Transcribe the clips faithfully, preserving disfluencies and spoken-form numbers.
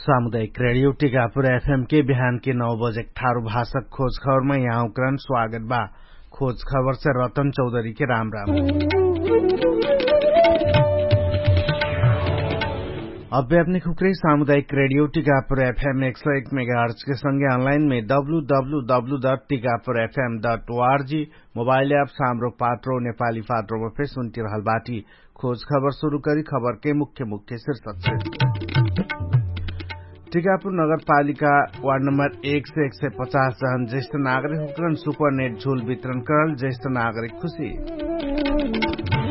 सामुदायिक रेडियो टिकापुर एफएम के बिहान के नौ बजे ठारु भाषक खोज खबरमा यहाँ उक्रान स्वागत बा। खोज खबर से रतन चौधरी के राम राम। अभ्यापनिक हुक्रे सामुदायिक रेडियो टिकापुर एफएम एक सौ एक मेगाहर्च के संगे अनलाइन में W W W dot Tikapur FM dot ORG mobile app सामरो पात्रो नेपाली पात्रोमा फेर सुन्टिरहल बाटी। खोज खबर सुरु करी खबरके मुख्य मुख्य शीर्षक छे। टिकापुर नगरपालिका वार्ड नम्बर एक से एक सय पचास जहन ज्येष्ठ नागरिक हुक्रन सुपरनेट झुल वितरण करल ज्येष्ठ नागरिक खुशी।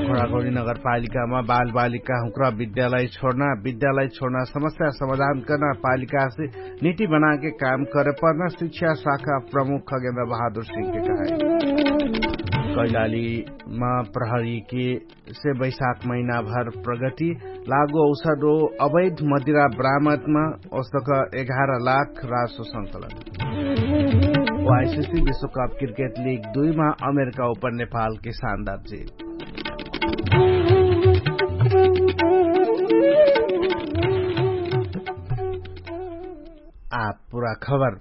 घोडाघोडी नगरपालिकामा बालबालिका हुक्रा विद्यालय छोड्ना विद्यालय छोड्ना समस्या समाधान कर्ना पालिकासे निति बनाके काम करे पर्ना शिक्षा शाखा प्रमुख खगेन्द्र बहादुर सिंहके कहाई। कैलालीमा प्रहरीके से बैशाख महिनाभर प्रगति लागो औषध ओ अवैध मदिरा बरामदमा औसक एघार लाख रासो संकलन। वाइसिसी विश्वकप क्रिकेट लिग दुईमा अमेरिका ओपन नेपालके शानदार जित। आ पुरा खबर।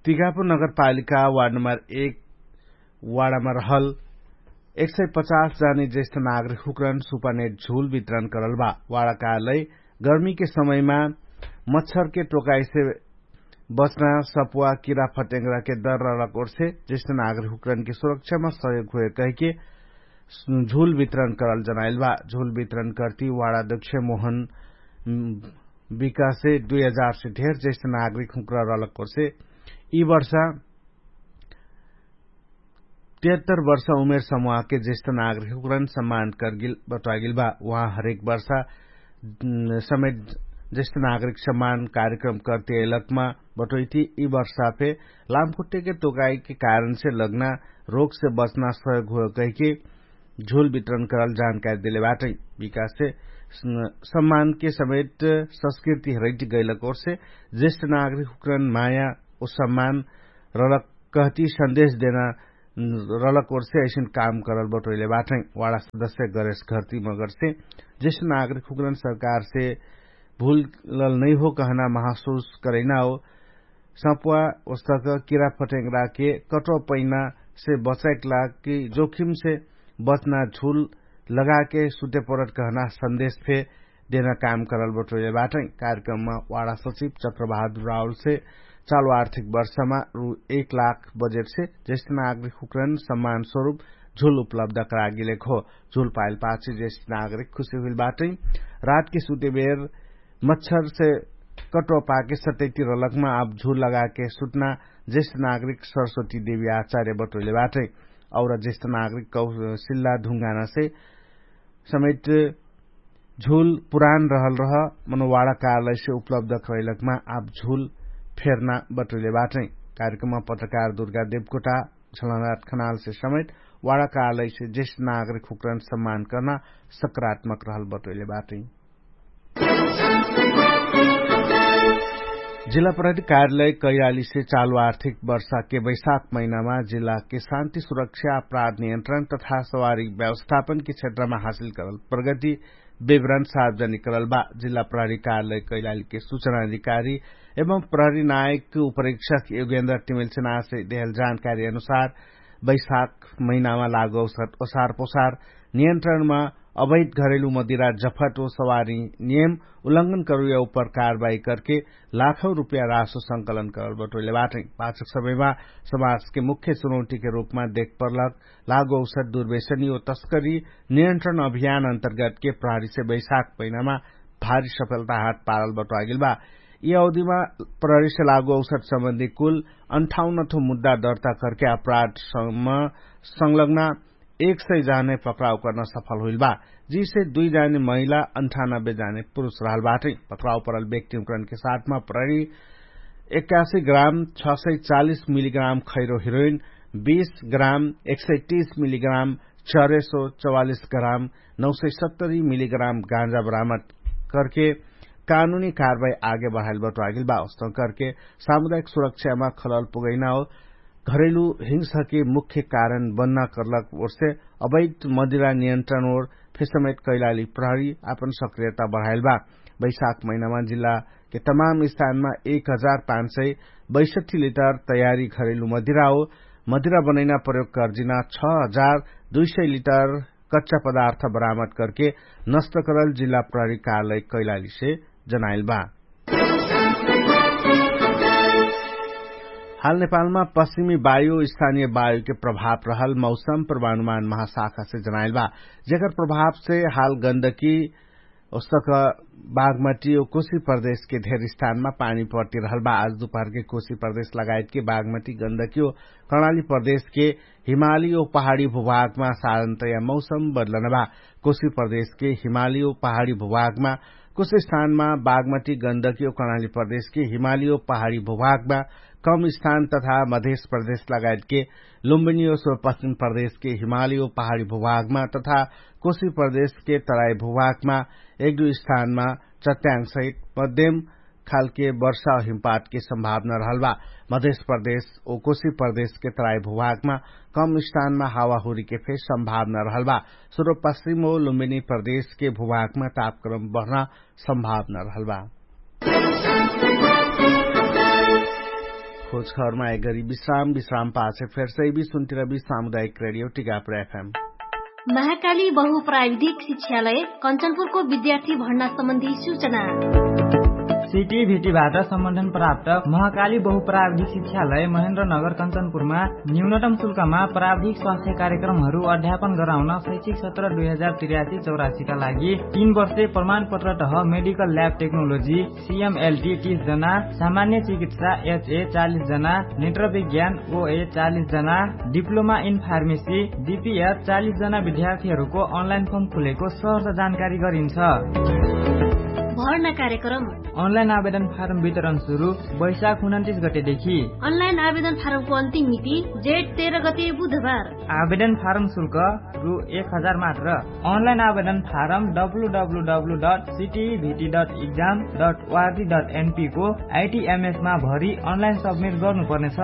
तिगापुर नगरपालिका वार्ड नम्बर एक वार्डमा रहल एक सय पचास जाने ज्येष्ठ नागरिक हुक्रन सुपानेट झुल वितरण करल बा। वार्डकालय गर्मीके समयमा मच्छरके टोकाइसे बच्ना सपुवा किरा फटेङ्ग्राके दर रलक ओर्से ज्येष्ठ नागरिक हुक्रनके सुरक्षामा सहयोग होए कहिके झुल वितरण करल जनाइल बा। झुल वितरण कर्ति वार्डाध्यक्ष मोहन विकासे दुई हजार से ढेर ज्येष्ठ नागरिक हुक्रा रलक ओर्से यि वर्षा तेहत्तर वर्ष उमेर समुहाके ज्येष्ठ नागरिक हुक्रन सम्मान करगिल बटवागिल बा। उहाँ हरेक वर्षा समेत ज्येष्ठ नागरिक सम्मान कार्यक्रम कर्ति अइलकमा बटोइति यि वर्षा फे लामखुट्टेके तोकाइके कारणसे लग्ना रोगसे बच्ना सहयोग होयो कहिके झुल वितरण करल जानकारी देले बाटै। विकाससे सम्मानके समेत संस्कृति हरैति गैलक ओर्से ज्येष्ठ नागरिक हुक्रन माया ओ सम्मान रलक कहती सन्देश देना रलक ओर्से ऐसिन काम करल बटोइले बाटै। वाडा सदस्य गरेश घर्ती मगरसे ज्येष्ठ नागरिक हुक्रन सरकारसे भुलल नैहो कहना महसुस करैना हो। सपुवा ओस्तक किरा फटेङ्ग्राके कटो पैनासे बचाइक लाग कि जोखिमसे बच्ना झुल लगाके सुते परट कहना सन्देश फे देना काम करल बटोइले बाटै। कार्यक्रममा वाडा सचिव चक्रबहादुर रावलसे चालु आर्थिक वर्षमा रु एक लाख बजेटसे ज्येष्ठ नागरिक हुक्रन सम्मान स्वरूप झुल उपलब्ध करागिलेक हो। झुल पाइल पाछे ज्येष्ठ नागरिक खुशी हुइल बाटै। रातके सुते बेर मच्छरसे कटो पाके सटैति रलकमा आब झुल लगाके सुटना ज्येष्ठ नागरिक सरस्वती देवी आचार्य बटोइले बाटै। और ज्येष्ठ नागरिक कौशिल्ला ढुङ्गानासे समेत झुल पुरान रहल रह मनोवाडा कार्यालयसे उपलब्ध खैलकमा आब झुल फेर्ना बटोइले बाटै। कार्यक्रममा पत्रकार दुर्गा देवकोटा झलनाथ खनालसे समेत वाडा कार्यालयसे ज्येष्ठ नागरिक हुक्रन सम्मान कर्ना सकारात्मक रहल बटोइले बाटै। जिल्ला प्रहरी कार्यालय कैलालीसे चालु आर्थिक वर्षाके बैशाख महिनामा जिल्लाके शान्ति सुरक्षा अपराध नियन्त्रण तथा सवारी व्यवस्थापनके क्षेत्रमा हासिल करल प्रगति विवरण सार्वजनिक करल बा। जिल्ला प्रहरी कार्यालय कैलालीके सुचना अधिकारी एवं प्रहरी नायक उपरीक्षक योगेन्द्र टिमेलसेनासे देहल जानकारी अनुसार बैशाख महिनामा लागौसत ओसार पोसार नियन्त्रणमा अवैध घरेलु मदिरा जफट ओ सवारी नियम उल्लंघन करुया उपर कारवाही करके लाखौ रुपया रासो संकलन करल बटोइले बाटै। पाछक समयमा समाजके मुख्य चुनौटीके रुपमा देख पर्लक लागौसत दुर्वेशनी ओ तस्करी नियन्त्रण अभियान अन्तर्गतके प्रहरीसे बैशाख महिनामा भारी सफलता हात पारल बटोआगिल बा। यि अवधिमा प्रहरीसे लागौसत सम्बन्धी कुल अन्ठाउन्नठो मुद्दा दर्ता करके अपराध सम्म संलग्ना एक सय जाने पक्राउ कर्न सफल हुइल बा। जिसे दुई जाने महिला अन्ठानब्बे जाने पुरुष रहल बाटै। पक्राउ परल व्यक्तिहुँकरनके साथमा प्रहरी एक्कासी ग्राम छ सय चालिस मिलिग्राम खैरो हिरोइन, बीस ग्राम एक सय तीस मिलिग्राम चरेसो चवालिस ग्राम नौ सय सत्तरी मिलिग्राम गाँजा बरामद करके कानुनी कारवाही आगे बढाइल बटोआगिल बा। उस्तन करके सामुदायिक सुरक्षामा खलल पुगैना हो घरेलु हिंसाके मुख्य कारण बन्ना कर्लक ओर्से अवैध मदिरा नियन्त्रण ओर फेसमेट कैलाली प्रहरी आपन सक्रियता बढाइल बा। बैशाख महिनामा जिल्ला तमाम स्थानमा एक हजार पाँच सय बैसठी लिटर तयारी घरेलु मदिरा हो। मदिरा बनैना प्रयोग कर्जिना छ हजार दुई सय लिटर कच्चा पदार्थ बरामद करके नष्ट करल जिल्ला प्रहरी कार्यालय कैलालीसे जनाइल बा। हाल नेपालमा पश्चिमी वायु स्थानीय वायुके प्रभाव रहल मौसम प्रवानुमान महाशाखासे जनाइल बा, जेकर प्रभावसे हाल गन्दकी ओसक बागमटी ओ कोशी प्रदेशके धेर स्थानमा पानी पर्ति रहल बा। आज दुपहरके कोशी प्रदेश लगायतके बागमटी गन्दकी ओ कर्णाली प्रदेशके हिमाली ओ पहाडी भूभागमा साधारणतया मौसम बदलन बा। कोशी प्रदेशके हिमाली ओ पहाडी भूभागमा कुछ स्थानमा बागमटी गन्दकी ओ कर्णाली प्रदेशके हिमाली ओ पहाडी भूभागमा कम स्थान तथा मधेश प्रदेश लगायतके लुम्बिनी ओ सुरपश्चिम प्रदेशके हिमाली ओ पहाडी भूभागमा तथा कोशी प्रदेशके तराई भूभागमा एक दुई स्थानमा चट्याङ सहित मध्यम खालके वर्षा हिमपातके सम्भावना रहल बा। मधेश प्रदेश ओ कोशी प्रदेशके तराई भूभागमा कम स्थानमा हावाहुरीके फेर सम्भावना रहल बा। सुरपश्चिम ओ लुम्बिनी प्रदेशके भूभागमा तापक्रम बढ्ना सम्भावना रहल बा। खोजखबरमा एक गरी विश्राम विश्राम पाछे फेर सैबी सुन्तिरबी सामुदायिक रेडियो टिकापुर एफएम। महाकाली बहु प्राविधिक शिक्षालय कञ्चनपुरको विद्यार्थी भर्ना सम्बन्धी सूचना। सिटी भिटीबाट सम्बन्धन प्राप्त महाकाली बहु प्राविधिक शिक्षालय महेन्द्र नगर कञ्चनपुरमा न्यूनतम शुल्कमा प्राविधिक स्वास्थ्य कार्यक्रमहरू अध्यापन गराउन शैक्षिक सत्र दुई हजार त्रियासी चौरासीका लागि तीन वर्षे प्रमाणपत्र तह मेडिकल ल्याब टेक्नोलोजी सिएमएलटी तीस जना, सामान्य चिकित्सा एचए चालिस जना, नेत्र विज्ञान ओए चालिस जना, डिप्लोमा इन फार्मेसी डिपिएच चालिस जना विद्यार्थीहरूको अनलाइन फर्म खुलेको सहर्ष जानकारी गरिन्छ। भर्ना कार्यक्रम। अनलाइन आवेदन फारम वितरण सुरु वैशाख उनन्तिस गतेदेखि। अनलाइन आवेदन फारमको अन्तिम मिति जेठ तेह्र गते बुधबार। आवेदन फारम शुल्क रु एक हजार मात्र। अनलाइन आवेदन form W W W dot CTVT dot exam dot ORG dot एनपीको आइटिएमएसमा भरि अनलाइन सब्मिट गर्नुपर्नेछ।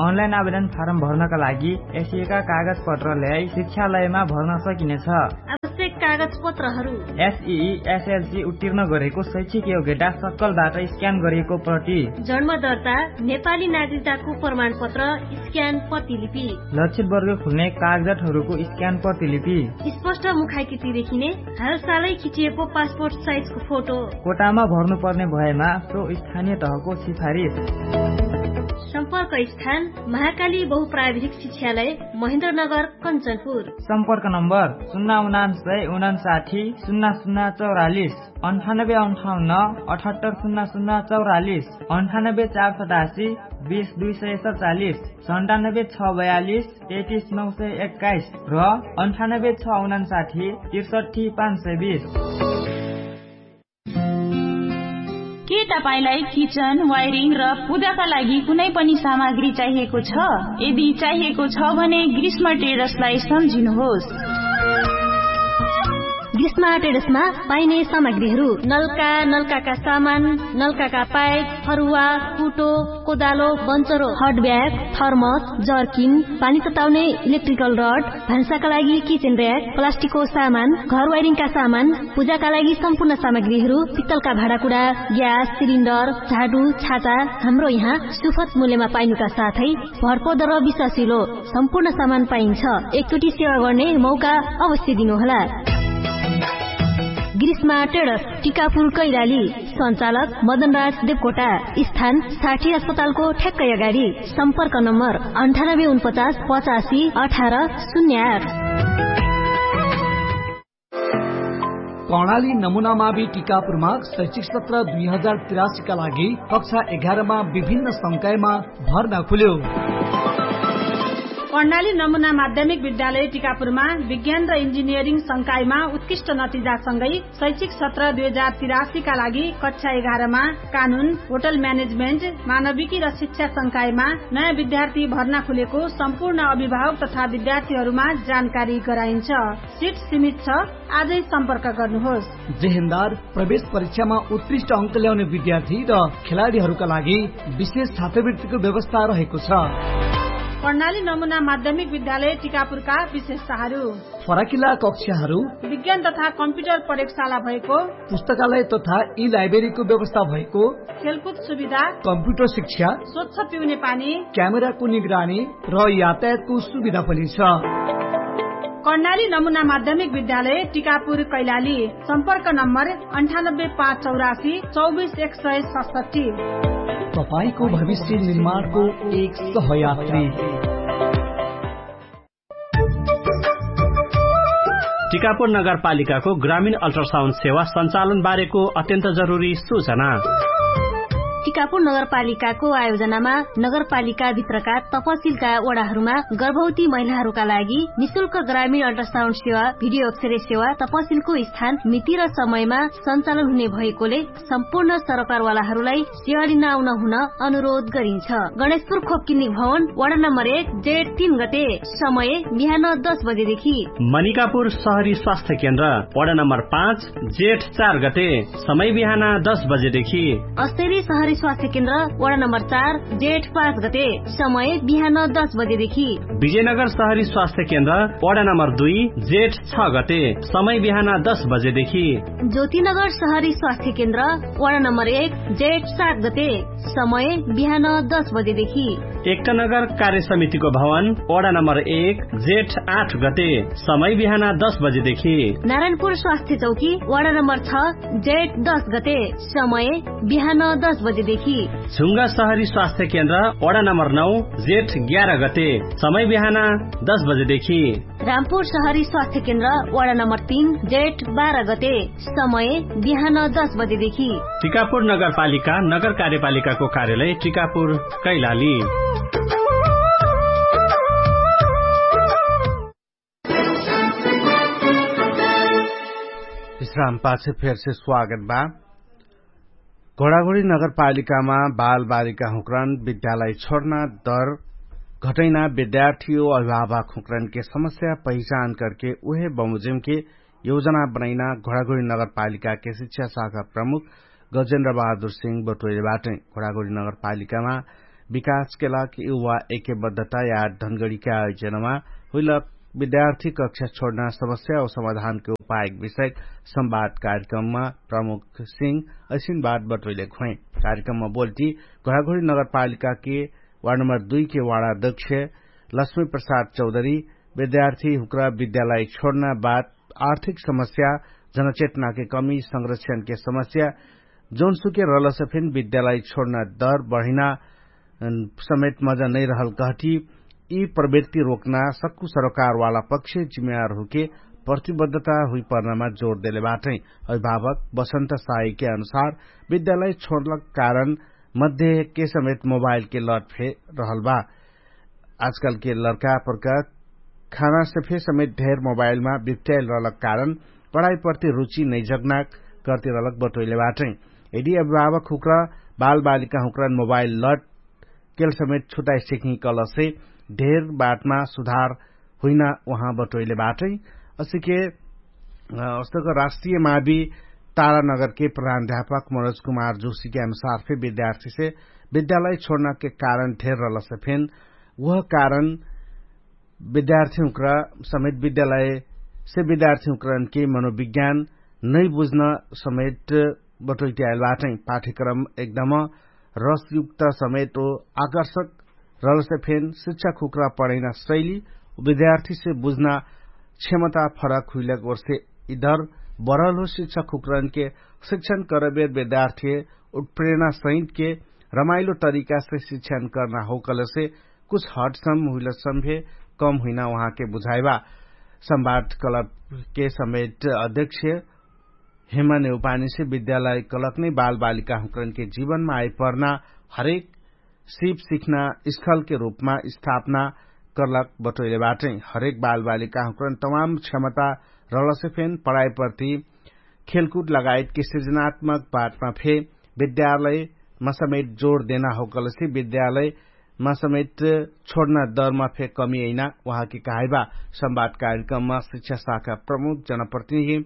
अनलाइन आवेदन फारम भर्नका लागि एसिएका कागजपत्र ल्याई शिक्षालयमा भर्न सकिनेछ। आवश्यक कागजपत्रहरू। एसई एसएलसी उत्तीर्ण गरेको शैक्षिक योग्यता सक्कलबाट स्क्यान गरिएको प्रति। जन्म दर्ता नेपाली नागरिकताको प्रमाणपत्र स्क्यान प्रतिलिपि। लक्षित वर्ग खुल्ने कागजातहरूको स्क्यान प्रतिलिपि। स्पष्ट मुखाकृति देखिने हालसालै खिचिएको पासपोर्ट साइजको फोटो। कोटामा भर्नुपर्ने भएमा सो स्थानीय तहको सिफारिस। सम्पर्क स्थान महाकाली बहुप्राविधिक शिक्षालय महेन्द्रनगर कञ्चनपुर। सम्पर्क नम्बर सुन्ना उनान्सय उनान्साठी सुन्ना सुन्ना चौरालिस। अन्ठानब्बे अन्ठाउन्न अठहत्तर सुन्ना सुन्ना चौरालिस। अन्ठानब्बे चार सतासी बिस दुई सय सचालिस। सन्तानब्बे छ बयालिस तेतिस नौ सय एक्काइस र अन्ठानब्बे छ उनान्साठी त्रिसठी पाँच सय बिस। के तपाईंलाई किचन वायरिङ र पूजाका लागि कुनै पनि सामग्री चाहिएको छ? यदि चाहिएको छ भने ग्रीष्म ट्रेडर्सलाई सम्झिनुहोस्। ग्रीष्म ट्रेडर्समा पाइने सामग्रीहरू नल्का नल्काका सामान, नल्काका पाइप, फरुवा, कुटो, कोदालो, बन्चरो, हट ब्याग, थर्मस, जर्किन, पानी तताउने इलेक्ट्रिकल रड, भान्साका लागि किचेन र्याक, प्लास्टिकको सामान, घर वाइरिङका सामान, पूजाका लागि सम्पूर्ण सामग्रीहरू, पित्तलका भाँडाकुडा, ग्यास सिलिन्डर, झाडु, छाता, हाम्रो यहाँ सुफत मूल्यमा पाइनुका साथै भरपर्दो र विश्वासिलो सम्पूर्ण सामान पाइन्छ। एकचोटि सेवा गर्ने मौका अवश्य दिनुहोला। ग्रीष्मा ट्रेडर्स, टिकापुर कैलाली। सञ्चालक मदनराज देवकोटा। स्थान साठी अस्पतालको ठ्याक्कै अगाडि। सम्पर्क नम्बर अन्ठानब्बे उनपचास पचासी अठार शून्य आठ। कर्णाली नमुनामावि टिकापुरमा शैक्षिक सत्र दुई हजार तिरासीका लागि कक्षा एघारमा विभिन्न संकायमा भर्ना खुल्यो। कर्णाली नमुना माध्यमिक विद्यालय टिकापुरमा विज्ञान र इन्जिनियरिङ संकायमा उत्कृष्ट नतिजासँगै शैक्षिक सत्र दुई हजार तिरासीका लागि कक्षा एघारमा कानुन, होटल म्यानेजमेन्ट, मानविकी र शिक्षा संकायमा नयाँ विद्यार्थी भर्ना खुलेको सम्पूर्ण अभिभावक तथा विद्यार्थीहरूमा जानकारी गराइन्छ। सिट सीमित छ। आजै सम्पर्क गर्नुहोस्। जेहेन्दार प्रवेश परीक्षामा उत्कृष्ट अङ्क ल्याउने विद्यार्थी र खेलाडीहरूका लागि विशेष छात्रवृत्तिको व्यवस्था रहेको छ। कर्णाली नमुना माध्यमिक विद्यालय टिकापुरका विशेषताहरू। फराकिला कक्षाहरू। विज्ञान तथा कम्प्युटर प्रयोगशाला भएको। पुस्तकालय तथा ई लाइब्रेरीको व्यवस्था भएको। खेलकुद सुविधा। कम्प्युटर शिक्षा। स्वच्छ पिउने पानी। क्यामेराको निगरानी र यातायातको सुविधा पनि छ। कर्णाली नमुना माध्यमिक विद्यालय टिकापुर कैलाली। सम्पर्क नम्बर अन्ठानब्बे पाँच चौरासी चौबिस एक सय सतसट्ठी। तपाईंको भविष्य निर्माणको एक सहयात्री। टिकापुर नगरपालिकाको ग्रामीण अल्ट्रासाउन्ड सेवा सञ्चालन बारेको अत्यन्त जरुरी सूचना। टिकापुर नगरपालिकाको आयोजनामा नगरपालिकाभित्रका तपसिलका वडाहरूमा गर्भवती महिलाहरूका लागि निशुल्क ग्रामीण अल्ट्रासाउन्ड सेवा, भिडियो अक्षरे सेवा तपसिलको स्थान मिति र समयमा सञ्चालन हुने भएकोले सम्पूर्ण सरकारवालाहरूलाई सेवा लिन आउन हुन अनुरोध गरिन्छ। गणेशपुर खोपकिन्नी भवन, वडा नम्बर एक, जेठ तीन गते, समय बिहान दस बजेदेखि। मनिकापुर सहरी स्वास्थ्य केन्द्र, वडा नम्बर पाँच, जेठ चार गते, समय बिहान दस बजेदेखि। अस्तरी सहरी स्वास्थ्य केन्द्र, वडा नम्बर चार, जेठ पाँच गते, समय बिहान दस बजेदेखि। विजयनगर सहरी स्वास्थ्य केन्द्र, वडा नम्बर दुई, जेठ छ गते, समय बिहान दस बजेदेखि। ज्योतिनगर सहरी स्वास्थ्य केन्द्र, वडा नम्बर एक, जेठ सात गते, समय बिहान दस बजेदेखि। एकतानगर कार्य समितिको भवन, वडा नम्बर एक, जेठ आठ गते, समय बिहान दस बजेदेखि। नारायणपुर स्वास्थ्य चौकी, वडा नम्बर छ, जेठ दस गते, समय बिहान दस बजेदेखि। झुङ्गा सहरी स्वास्थ्य केन्द्र, वडा नम्बर नौ, जेठ ग्यार गते, समय बिहान दस बजेदेखि। रामपुर सहरी स्वास्थ्य केन्द्र, वडा नम्बर तीन, जेठ बाह्र गते, समय बिहान दस बजेदेखि। टिकापुर नगरपालिका, नगर कार्यपालिकाको कार्यालय टिकापुर, कैलाली। विश्राम पाछे फेरसे स्वागत बा। घोडाघोडी नगरपालिकामा बालबालिका हुँक्रन विद्यालय छोड्ना दर घटैना विद्यार्थी ओ अभिभावक हुँक्रनके समस्या पहिचान करके उहे बमोजिमके योजना बनैना घोडाघोडी नगरपालिकाके शिक्षा शाखा प्रमुख गजेन्द्र बहादुर सिंह बटोइले बाटै। घोडाघोडी नगरपालिकामा विकासके लाग युवा एकेबद्धता या धनगढीका आयोजनामा हुइलक विद्यार्थी कक्षा छोड्ना समस्या ओ समाधानके उपायक विषयक संवाद कार्यक्रममा प्रमुख सिंह असिन बात बटोइले घुवाइ। कार्यक्रममा बोल्टी घोडाघोडी नगरपालिकाके वार्ड नम्बर दुई के वार्ड अध्यक्ष लक्ष्मी प्रसाद चौधरी विद्यार्थी हुक्रा विद्यालय छोड्ना बात आर्थिक समस्या, जनचेतनाके कमी, संरक्षणके समस्या, जौनसुके रहलसे फेन विद्यालय छोड्ना दर बढिना समेत मजा नैरहल कहटी यि प्रवृत्ति रोक्ना सक्कु सरोकारवाला पक्ष जिम्मेवार हुके प्रतिबद्धता हुइपर्नामा जोर देले बाटै। अभिभावक बसन्त साईके अनुसार विद्यालय छोडलक कारण मध्येके समेत मोबाइलके लट फे रहल बा। आजकालके लर्का प्रका खानासे फे समेत ढेर मोबाइलमा बिप्ट्याइल रहलक कारण पढाइप्रति रुचि नैजग्ना करति रहलक बटोइले बाटै। यदि अभिभावक हुक्रा बालबालिका हुक्रान मोबाइल लट केल समेत छुटाइ सिक्ही कलसे ढेर बाटमा सुधार हुइना उहाँ बटोइले बाटै। असिके अस्तक राष्ट्रिय मावी तारानगरके प्रधानध्यापक मनोज कुमार जोशीके अनुसार फे विद्यार्थीसे विद्यालय छोड्नाके कारण ढेर रहलसे फेन उह कारण विद्यार्थी हुक्रा समेत विद्यालयसे विद्यार्थी हुक्रानके मनोविज्ञान नै बुझ्न समेत बटोइट्याइल बाटै। पाठ्यक्रम एकदम रसयुक्त समेत ओ आकर्षक रहलसे फेन शिक्षा खुक्रा पढैना शैली विद्यार्थीसे बुझ्ना क्षमता फरक हुइलक वर्षे इधर बरल हो। शिक्षा खुक्रानके शिक्षण करबेर विद्यार्थी उत्प्रेरणा सहितके रमाइलो तरिकासे शिक्षण कर्ना हो कलसे कुछ हटसम हुइलसम फे कम हुइना उहाँके बुझाइबा। संवाद कलपके समेट अध्यक्ष हेमा नेउपानीसे विद्यालय कलक नै बालबालिका हुँकरनके जीवनमा आइपर्ना हरेक सिप सिख्ना स्थलके रूपमा स्थापना कर्लक बटोइले बाटै। हरेक बालबालिका हुँकरन तमाम क्षमता रहलसे फेन पढाइप्रति खेलकुद लगायतके सृजनात्मक बाटमा फे विद्यालयमा समेट जोड देना होकलसे विद्यालयमा समेट छोड्ना दरमा फे कमी अइना उहाँके कहाइबा। संवाद कार्यक्रममा शिक्षा शाखा प्रमुख जनप्रतिनिधि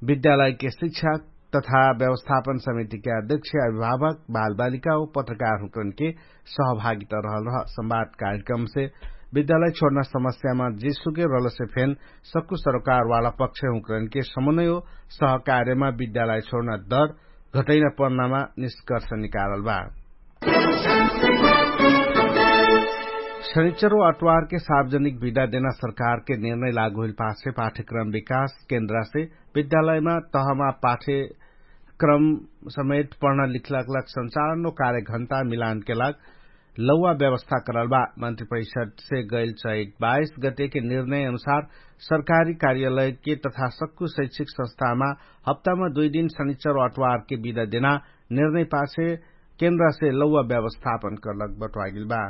विद्यालयके शिक्षा तथा व्यवस्थापन समितिके अध्यक्ष अभिभावक बालबालिका व पत्रकारहुँकरनके सहभागिता रहल रह। संवाद कार्यक्रमसे विद्यालय छोड्ना समस्यामा जेसुके रलसे फेन सक्कु सरोकारवाला पक्षहुँकरनके समन्वय व सहकार्यमा विद्यालय छोड्ना दर घटैना पर्नामा निष्कर्ष निकारल बा। शनिचर व अट्वारके सार्वजनिक विदा देना सरकारके निर्णय लागु होइल पाछे पाठ्यक्रम विकास केन्द्रासे विद्यालयमा तहमा पाठ्यक्रम समेत पढ्ना लिखलाक लाग संचालन व कार्यघण्टा मिलानके लाग लौवा व्यवस्था करल बा। मन्त्री परिषदसे गैल चैत बाइस गतेके निर्णय अनुसार सरकारी कार्यालयके तथा सक्कु शैक्षिक संस्थामा हप्तामा दुइ दिन शनिचर व अट्वारके विदा देना निर्णय पाछे केन्द्रासे लौवा व्यवस्थापन करलक बटवागिल बा।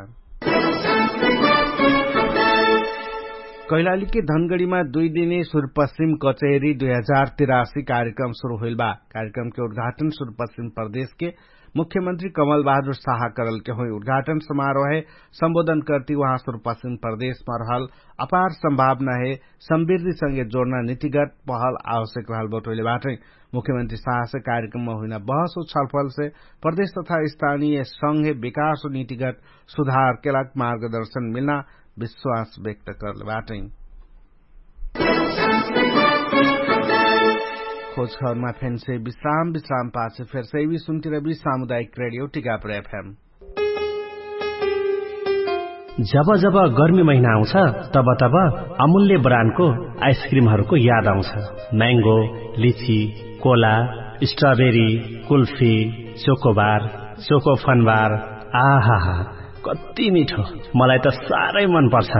कैलालीके धनगडीमा दुइ दिने सुरपश्चिम कचेरी दुइ हजार तिरासी कार्यक्रम सुरु होइल बा। कार्यक्रमके उद्घाटन सुरपश्चिम प्रदेशके मुख्यमन्त्री कमल बहादुर साहा करलके होइ। उद्घाटन समारोहे सम्बोधन कर्ति उहाँ सुरपश्चिम प्रदेशमा रहल अपार सम्भावना हे सम्बिर्दिसँगे जोड्ना नितिगत पहल आवश्यक रहल बटोइले बाटै। मुख्यमन्त्री साहसे कार्यक्रममा हुइना बहस व छलफलसे प्रदेश तथा स्थानीय संघे विकास व नितिगत सुधारके लाग मार्गदर्शन मिल्ना विश्वास व्यक्त करले बाटै। खोजखबरमा फेन्से विश्राम विश्राम पाछे फेर सैवी सुन्तिरबी सामुदायिक रेडियो टिकापुर एफएम। जब जब गर्मी महिना आउँछ, तब तब अमूल्य ब्रान्डको आइसक्रिमहरूको याद आउँछ। म्याङ्गो, लिची, Cola, strawberry, kulfi, chocobar, choco Fun Bar. आहाहा, कति मिठो। मलाई त साह्रै मन पर्छ।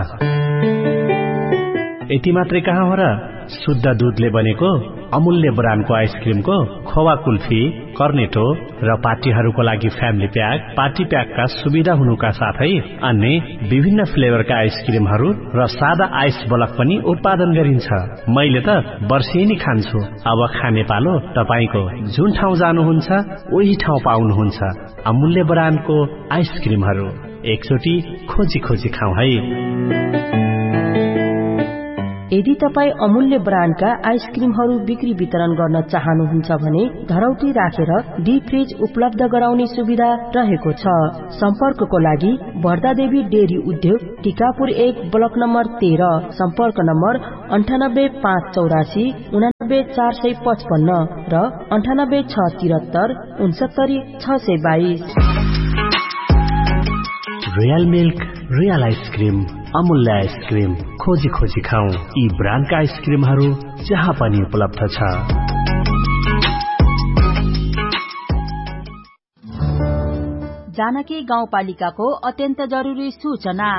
यति मात्रै कहाँ हो र, शुद्ध दुधले बनेको अमूल्य ब्रान्डको आइसक्रिमको खोवा कुल्फी, कर्नेटो र पार्टीहरूको लागि फ्यामिली प्याक, पार्टी प्याकका सुविधा हुनुका साथै अन्य विभिन्न फ्लेभरका आइसक्रिमहरू र सादा आइस बलक पनि उत्पादन गरिन्छ। मैले त वर्षेनी खान्छु। अब खाने पालो तपाईंको। जुन ठाउँ जानुहुन्छ उही ठाउँ पाउनुहुन्छ अमूल्य ब्रान्डको आइसक्रिमहरू। एकचोटि खोजी खोजी खाउँ है। यदि तपाईं अमूल्य ब्रान्डका आइसक्रिमहरू बिक्री वितरण गर्न चाहनुहुन्छ भने धरौटी राखेर डिप फ्रिज उपलब्ध गराउने सुविधा रहेको छ। सम्पर्कको लागि भर्दादेवी डेरी उद्योग, टिकापुर एक, ब्लक नम्बर तेह्र। सम्पर्क नम्बर अन्ठानब्बे पाँच चौरासी उनानब्बे चार सय पचपन्न र अन्ठानब्बे छ तिरत्तर उनसत्तरी छ सय बाइस। रियल मिल्क, रियल आइसक्रिम, अमूल्य आइसक्रिम। खोजी खोजी खाउँ, यी ब्रान्डका आइसक्रिमहरू जहाँ पनि उपलब्ध छ। जानकी गाउँपालिकाको अत्यन्त जरुरी सूचना।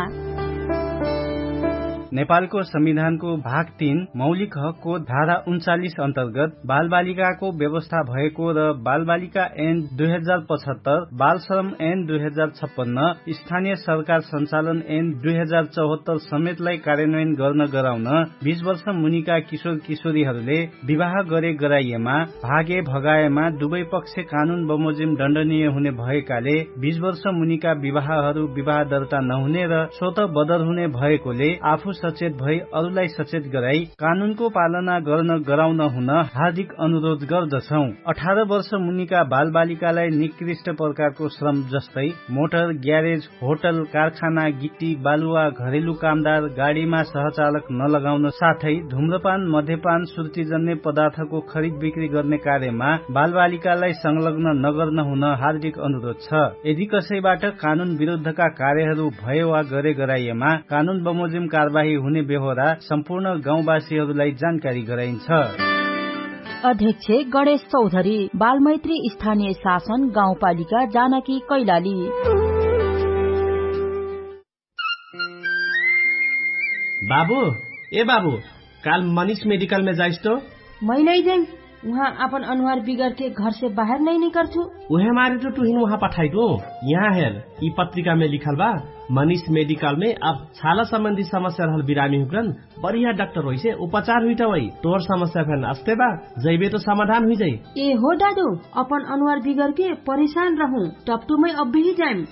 नेपालको संविधानको भाग तीन मौलिक हकको धारा उन्चालिस अन्तर्गत बालबालिकाको व्यवस्था भएको र बालबालिका ऐन दुई हजार पचहत्तर, बालश्रम ऐन दुई हजार छप्पन्न, स्थानीय सरकार सञ्चालन ऐन दुई हजार चौहत्तर समेतलाई कार्यान्वयन गर्न गराउन बीस वर्ष मुनिका किशोर किशोरीहरूले विवाह गरे गराइएमा, भागे भगाएमा दुवै पक्ष कानुन बमोजिम दण्डनीय हुने भएकाले बीस वर्ष मुनिका विवाहहरू विवाह दर्ता नहुने र स्वत बदर हुने भएकोले आफू सचेत भई अरूलाई सचेत गराई कानुनको पालना गर्न गराउन हुन हार्दिक अनुरोध गर्दछौं। अठार वर्ष मुनिका बालबालिकालाई निकृष्ट प्रकारको श्रम जस्तै मोटर, ग्यारेज, होटल, कारखाना, गिट्टी, बालुवा, घरेलु कामदार, गाडीमा सहचालक नलगाउन साथै धुम्रपान, मध्यपान, सुर्तीजन्य पदार्थको खरिद बिक्री गर्ने कार्यमा बालबालिकालाई संलग्न नगर्न हुन हार्दिक अनुरोध छ। यदि कसैबाट कानुन विरुद्धका कार्यहरू भए वा गरे गराइएमा कानुन बमोजिम कारवाही हुने बेहोरा सम्पूर्ण गाउँवासीहरूलाई जानकारी गराइन्छ। अध्यक्ष गणेश चौधरी, बालमैत्री स्थानीय शासन गाउँपालिका जानकी कैलाली। बाबु, ए बाबु, काल मनिष मेडिकलमे जाइस तो? मै नै जाइम। उहाँ आपन अनुहार बिगरके घरसे बाहेर नै निकर्छु। उहे मारे तो तुहिन उहाँ पठाइटु। यहाँ हेर, यि पत्रिकामे लिखल बा, मनिष मेडिकलमे अब छाला सम्बन्धी समस्या रहल बिरामी हुक्रन बढिया डाक्टर होइसे उपचार हुइटवै। तोर समस्या फेन अस्ते बा, जैबे तो समाधान हुइजै। ए हो दादु, अपन अनुहार बिगरके परेशान रहु, टपटुमै अब्बेही जाइम।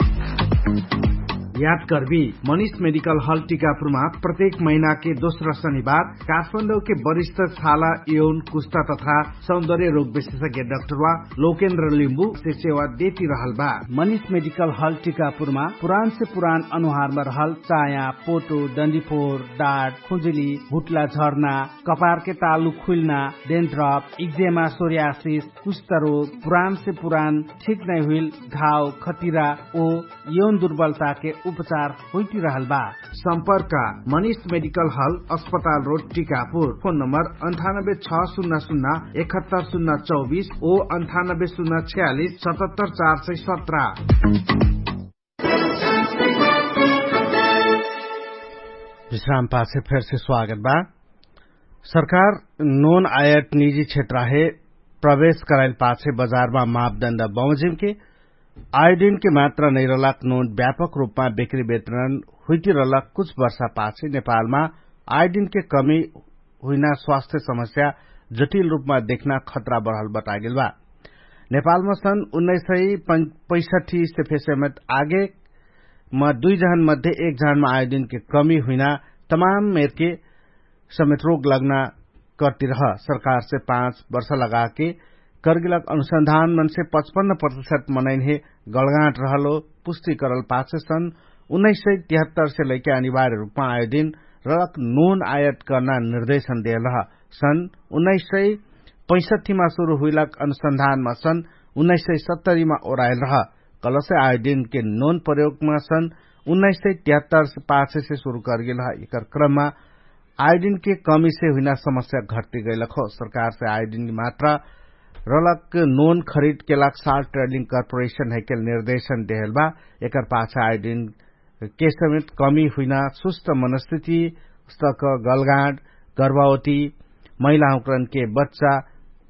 याद कर्बी, मनिष मेडिकल हल टिकापुरमा प्रत्येक महिनाके दोस्रा शनिबार काठमाडौके वरिष्ठ छाला, यौन, कुष्टा तथा सौन्दर्य रोग विशेषज्ञ डाक्टरवा लोकेन्द्र लिम्बु से सेवा देति रहल बा। मनिष मेडिकल हल टिकापुरमा पुरान से पुरान अनुहारमा रहल चाया, पोटो, डन्डीफोर, डाट, खुजुली, हुट्ला झर्ना, कपारके तालु खुइल्ना, डेन्ड्रप, इक्जेमा, सोर्यासिस, कुष्ठरोग, पुरान से पुरान ठीक नै हुइल घाव, खतिरा ओ यौन दुर्बलताके उपचार होइटिरहल बा। सम्पर्क, मनिष मेडिकल हल, अस्पताल रोड, टिकापुर। फोन नम्बर अन्ठानब्बे छ सुन्ना सुन्ना एकहत्तर सुन्ना चौबिस ओ अन्ठानब्बे सुन्ना छयालिस सतहत्तर चार सय सत्र। विश्राम पाछे फेरसे स्वागत बा। सरकार नोन आयट निजी क्षेत्र हे प्रवेश कराइल पाछे बजारमा मापदण्ड बमोजिमके आयोडिनके मात्रा नैरलाक नोन व्यापक रूपमा बिक्री वितरण हुइटिरलाक कुछ वर्षा पाछे नेपालमा आयोडिनके कमी हुइना स्वास्थ्य समस्या जटिल रूपमा देखना खतरा बढल बतागेल बा। नेपालमा सन् उन्नाइस सय पैसठी से फेसेमत आगे म दुइ जहन मध्ये एक जहनमा आयोडिनके कमी हुइना तमाम मेरके समेत रोग लग्ना कर्तिरह। सरकारसे पाँच वर्ष लगाके कर्गिलक अनुसन्धान मनसे पचपन्न प्रतिशत मनैन्हे गलगाँट रहलो पुष्टि करल पाछे सन् उन्नाइस सय तिहत्तर से लैके अनिवार्य रूपमा आयोदिन रलक नोन आयत कर्ना निर्देशन देहलह। सन् उन्नाइस सय पैसठीमा सुरु हुइलक अनुसन्धानमा सन् उन्नाइस सय सत्तरीमा ओराइलरह। कलसे आयोदिनके नोन प्रयोगमा सन् उन्नाइस सय तिहत्तर पाछेसे सुरु कर्गिलह। एकर क्रममा आयोडिनके कमीसे हुइना समस्या घट्टी गैलक हो। सरकारसे आयोडिनके मात्रा रलक नोन खरिदके लाग साल ट्रेडिङ कर्पोरेशन हैकेल निर्देशन देहल बा। एकर पाछे आयोडिनके समेत कमी हुइना सुस्त मनस्थिति उस्तक गलगाँड, गर्भावती, महिलाहुँकरनके बच्चा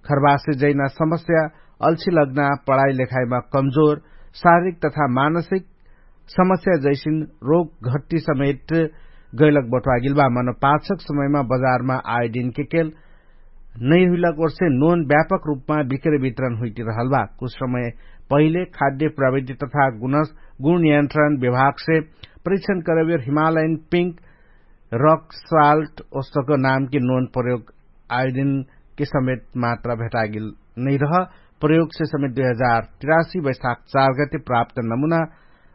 खरबासे जैना समस्या, अल्छि लग्ना, पढाइ लेखाइमा कमजोर, शारीरिक तथा मानसिक समस्या जैसिन रोग घट्टी समेत गैलक बट्वागिल बा। मनो पाछक समयमा बजारमा आयोडिनके केल नैहुइलक ओर्से नोन व्यापक रूपमा बिक्रे वितरण हुइटिरहल बा। कुछ समय पहिले खाद्य प्रविधि तथा गुण नियन्त्रण विभागसे परीक्षण करबेर हिमालयन पिङ्क रक साल्ट ओस्तक नामके नोन प्रयोग आयोडिनके समेत मात्रा भेटागिल नैरह। प्रयोगसे समेत दुइ हजार तिरासी वैशाख चार गते प्राप्त नमुना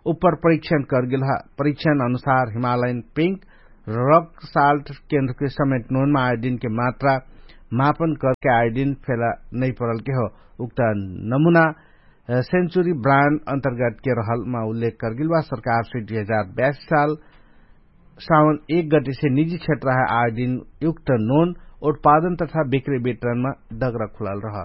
उपर परीक्षण कर्गिलह। परीक्षण अनुसार हिमालयन पिङ्क रक साल्ट केन्द्रके समेत नोनमा आयोडिनके मात्रा मापन करके आयोडिन फेला नैपरलके हो। उक्त नमुना सेन्चुरी ब्रान्ड अन्तर्गतके रहलमा उल्लेख कर्गिल बा। सरकारसे दुइ हजार बयासी साल सावन एक गतिसे निजी क्षेत्रह आयोडिन युक्त नोन उत्पादन तथा बिक्री वितरणमा दगरा खुलाल रह।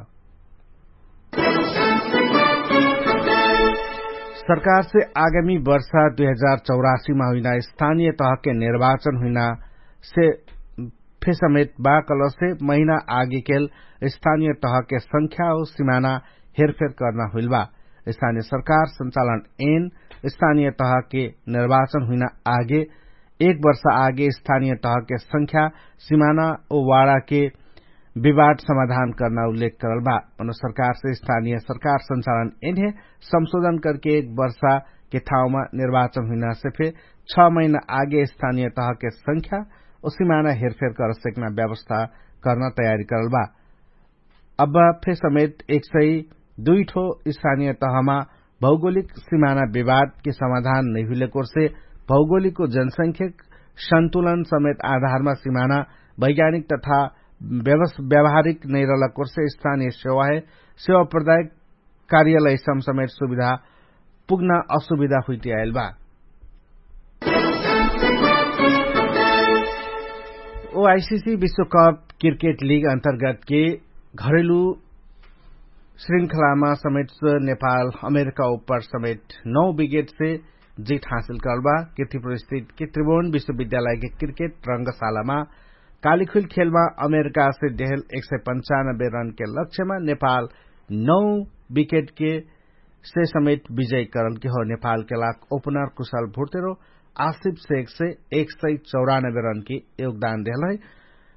सरकारसे आगामी वर्ष दुइ हजार चौरासीमा हुइना स्थानिय तहके निर्वाचन हुइनासे फेसमेत बा कलसे महिना आगेकेल स्थानिय तहके संख्या ओ सिमाना हेरफेर कर्ना हुइल बा। स्थानिय सरकार संचालन एन स्थानिय तहके निर्वाचन हुइना आगे एक वर्ष आगे स्थानिय तहके संख्या सिमाना ओ वाडाके विवाद समाधान कर्ना उल्लेख करल बा। मनो सरकारसे स्थानिय सरकार संचालन एन्हे संशोधन करके एक वर्षाके ठाउँमा निर्वाचन हुइनासे फे छ महिना आगे स्थानिय तहके संख्या ओ सिमाना हेरफेर करसेक्ना व्यवस्था कर्ना तयारी करल बा। अब फे समेत एक सय दुइ ठो स्थानिय तहमा भौगोलिक सिमाना विवादके समाधान नैहुइलेकोर्से भौगोलिक ओ जनसंख्यक सन्तुलन समेत आधारमा सिमाना वैज्ञानिक तथा व्यवहारिक नैरलकोर्से स्थानिय सेवाहे सेवा प्रदायक कार्यालय समसमेट सुविधा पुग्ना असुविधा हुइटियाइल बा। ओ आइसिसी विश्वकप क्रिकेट लिग अन्तर्गतके घरेलु श्रृङ्खलामा समेट नेपाल अमेरिका उपर समेट नौ विकेटसे जित हासिल करल बा। किर्तिपुर स्थित किर्तिबोन विश्वविद्यालयके क्रिकेट रङ्गशालामा कालिखुइल खेलमा अमेरिकासे देहल एक सय पन्चानब्बे रनके लक्ष्यमा नेपाल नौ विकेटके से समेत विजय करलके हो। नेपालके लाग ओपनर कुशल भुर्तेरो आसिफ सेकसे एक सय चौरानब्बे रनके योगदान देहल है।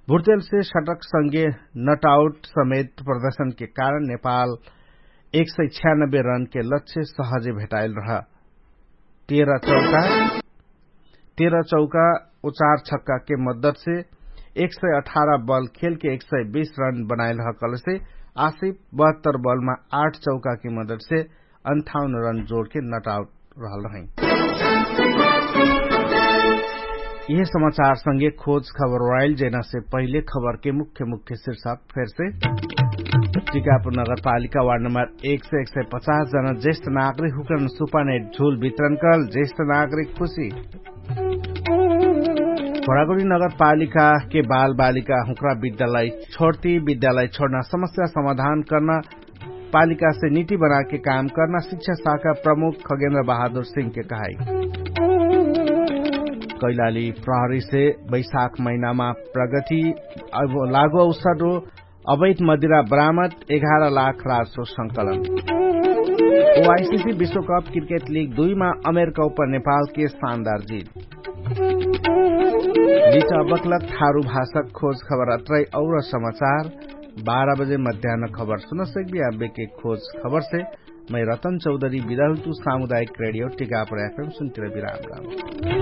भुर्तेलसे सटकसँगे नटआउट समेत प्रदर्शनके कारण नेपाल एक सय छ्यानब्बे रनके लक्ष्य सहजे भेटाइल रह। तेह्र चौका तेह्र चौका उचार छक्काके मद्दतसे एक सय अठार बल खेलके एक सय बीस रन बनाइल हकलसे आसिफ बहत्तर बलमा आठ चौकाके मद्दतसे अन्ठाउन रन जोडके नटाउट रहल रहै। यिहे समाचारसँगे खोज खबर वाइल जेनासे पहिले खबरके मुख्य मुख्य शिर्षक फेरसे। टिकापुर नगरपालिका वार्ड नम्बर एक सय एक सय पचास जना जेष्ठ नागरिक हुकन सुपाने झुल वितरण करल जेष्ठ नागरिक खुशी। भोडागुडी नगरपालिका के बालबालिका हुक्रा विद्यालय छोड्ती विद्यालय छोड्ना समस्या समाधान कर्ना पालिकासे निति बनाके काम कर्ना शिक्षा शाखा प्रमुख खगेन्द्र बहादुर सिंहके कहाई। कैलाली प्रहरीसे बैशाख महिनामा प्रगति लागो अवसर अवैध मदिरा बरामद एघार लाख राजसो संकलन। ओआइसिसी विश्वकप क्रिकेट लिग दुईमा अमेरिका उपर नेपालके शानदार जित। लिच अबकलक थारु भाषक खोज खबर अत्रै और समाचार बाह्र बजे मध्यान खबर सुनसक्बी आबेके खोज खबरसे मै रतन चौधरी बिदाहुतु सामुदायिक रेडियो टिकापर एफएम सुन्तिर विराम राम।